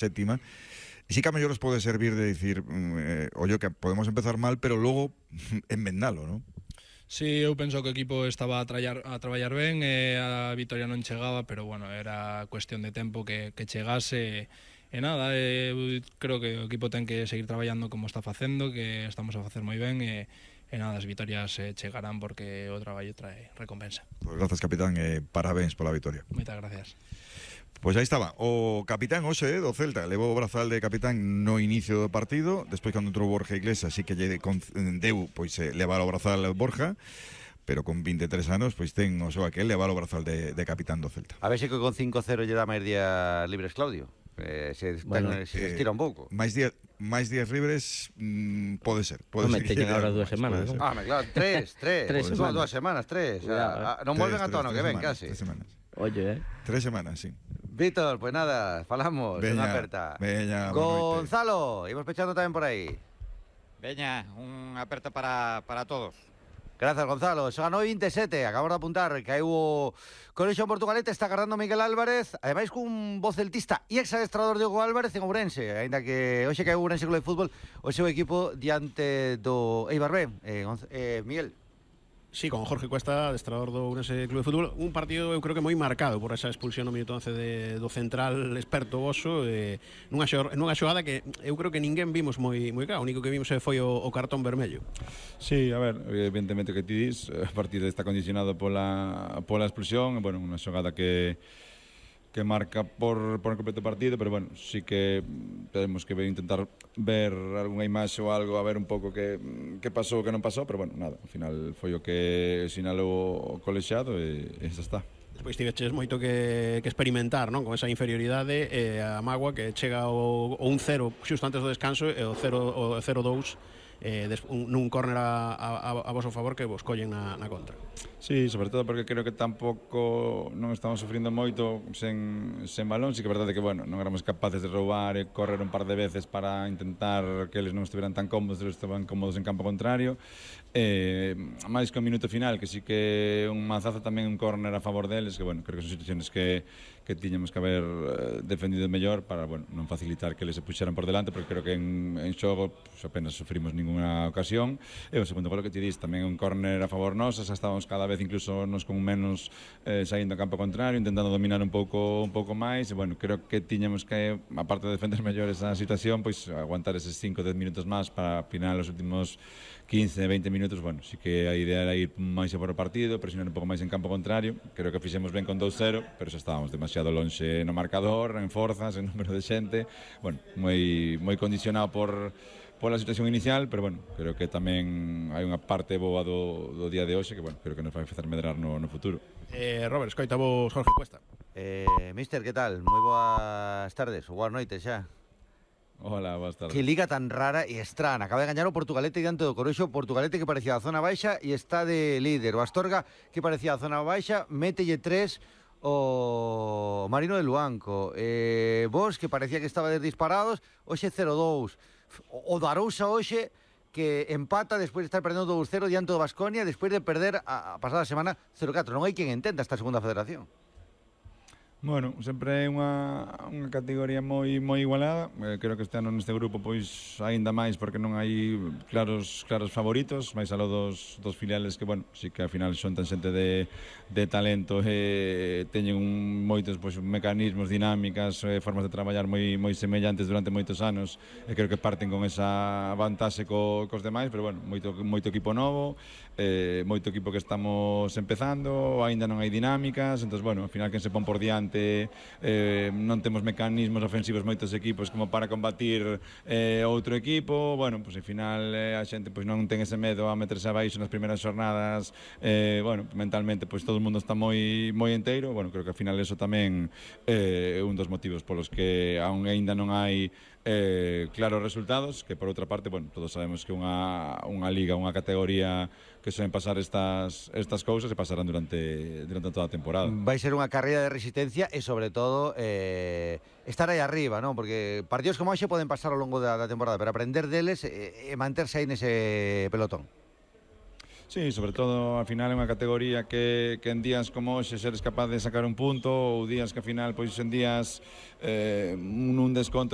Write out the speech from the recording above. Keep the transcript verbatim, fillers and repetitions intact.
séptima. E sí que a mellor os pode servir de dicir, eh, ollo, que podemos empezar mal, pero logo enmendalo, non? Sí, eu penso que o equipo estaba a, trallar, a traballar ben e a vitoria non chegaba, pero bueno, era cuestión de tempo que, que chegase e nada, eu creo que o equipo ten que seguir traballando como está facendo, que estamos a facer moi ben e, e nada, as vitorias eh, chegarán porque o traballo trae recompensa. Pois grazas, capitán, e parabéns pola vitoria. Moitas gracias. Pois aí estaba, o capitán hoxe do Celta levou o brazal de capitán no inicio do partido, despois cando entrou Borja Iglesias sí que lle deu pois eh, levar o brazal Borja, pero con vinte e tres anos pois ten o seu aquel levar o brazal de, de capitán do Celta. A ver se que con cinco cero lle dá máis días libres Claudio. Eh, se, bueno, ten, se eh, estira un pouco. Máis días máis días libres mm, pode ser. Pode ser. Teñen agora dúas semanas, non? Ah, claro, tres, tres. tres semanas. Dúas semanas, tres. Ya, non volven a tono que ven, casi. Tres semanas. Oye, eh. Tres semanas, sí. Víctor, pues nada, falamos, veña, unha aperta. Veña, Gonzalo, imos pechando tamén por aí. Veña, unha aperta para, para todos. Gracias, Gonzalo. Son a nove vinte e sete, acabamos de apuntar que hai o Colexio Portugalete, está agarrando Miguel Álvarez, ademais cun voz celtista e exadestrador Diego Álvarez en Ourense, aínda que hoxe que hai Ourense Club de Fútbol, o seu equipo diante do Eibar B. Eh, eh, Miguel. Sí, con Jorge Cuesta, adestrador do Ourense Club de Fútbol, un partido eu creo que moi marcado por esa expulsión no minuto once de, do central experto Oso, eh, nunha, xor, nunha xogada que eu creo que ninguén vimos moi moi claro, o único que vimos foi o, o cartón vermello. Sí, a ver, evidentemente que ti dis, o partido está condicionado pola, pola expulsión, bueno, unha xogada que que marca por, por completo partido, pero bueno, sí que tenemos que ver, intentar ver algunha imaxe ou algo, a ver un pouco que, que pasou, que non pasou, pero bueno, nada, ao final foi o que sinalou o colexiado e, e xa está. Despois tiveches moito que, que experimentar, non? Con esa inferioridade e a mágoa que chega o, o un cero xusto antes do descanso e o cero dous eh, des, un, nun córner a, a, a vosso favor que vos collen na, na contra. Sí, sobre todo porque creo que tampouco non estamos sufrindo moito sen, sen balón, sí que é verdade que, bueno, non éramos capaces de roubar e correr un par de veces para intentar que eles non estiveran tan cómodos, eles estaban cómodos en campo contrario, eh, máis que o minuto final, que sí que un mazazo tamén un córner a favor deles, que, bueno, creo que son situaciones que, que tiñamos que haber eh, defendido mellor para, bueno, non facilitar que eles se puxeran por delante, porque creo que en, en xogo pues, apenas sufrimos ninguna ocasión, e o segundo gol que ti dis, tamén un córner a favor nosa, xa estábamos cada vez incluso nos con menos eh, saindo a campo contrario, intentando dominar un pouco un pouco máis, e bueno, creo que tiñamos que, aparte de defender mellor esa situación, pois aguantar eses cinco dez minutos máis para final os últimos quince veinte minutos, bueno, sí que a idea era ir máis a por o partido, presionar un pouco máis en campo contrario, creo que fixemos ben con dous cero, pero xa estábamos demasiado lonxe no marcador, en forzas, en número de xente, bueno, moi moi condicionado por pola situación inicial, pero bueno, creo que tamén hai unha parte boa do, do día de hoxe que, bueno, creo que nos vai facer medrar no, no futuro. Eh, Robert, escoita vos Jorge Cuesta. Eh, mister, que tal? Moi boas tardes, ou boas noites xa. Hola, boas tardes. Que liga tan rara e estrana. Acaba de gañar o Portugalete diante do Corexo, Portugalete que parecía a zona baixa e está de líder. O Astorga que parecía a zona baixa, mételle tres o Marino de Luanco. Eh, vos que parecía que estaba disparados, hoxe cero dous. O Darousa hoxe que empata despois de estar perdendo dous cero diante do Baskonia, despois de perder a, a pasada semana cero catro. Non hai quen entenda esta segunda federación. Bueno, sempre é unha, unha categoría moi moi igualada. Eh, creo que este ano neste grupo pois aínda máis porque non hai claros claros favoritos, máis aló dos, dos filiales que, bueno, sí que ao final son tan xente de, de talento e teñen un, moitos pois, mecanismos, dinámicas, eh, formas de traballar moi moi semellantes durante moitos anos e creo que parten con esa vantaxe co, cos demais, pero bueno, moito, moito equipo novo, eh, moito equipo que estamos empezando, aínda non hai dinámicas, entón, bueno, ao final quen se pon por diante Eh, non temos mecanismos ofensivos moitos equipos como para combatir eh, outro equipo, bueno, pois pues, ao final eh, a xente pois, non ten ese medo a meterse abaixo nas primeiras xornadas, eh, bueno, mentalmente pois todo o mundo está moi moi enteiro, bueno, creo que ao final eso tamén é eh, un dos motivos polos que aún aínda non hai eh, claros resultados, que por outra parte, bueno, todos sabemos que unha, unha liga, unha categoría que suelen pasar estas estas cousas e pasarán durante durante toda a temporada. Vai ser unha carreira de resistencia e sobre todo eh, estar aí arriba, non? Porque partidos como hoxe poden pasar ao longo da, da temporada, pero aprender deles e, e manterse aí nese pelotón. Sí, sobre todo, ao final é unha categoría que, que en días como hoxe seres capaz de sacar un punto, ou días que ao final, pois en días eh, un, un desconto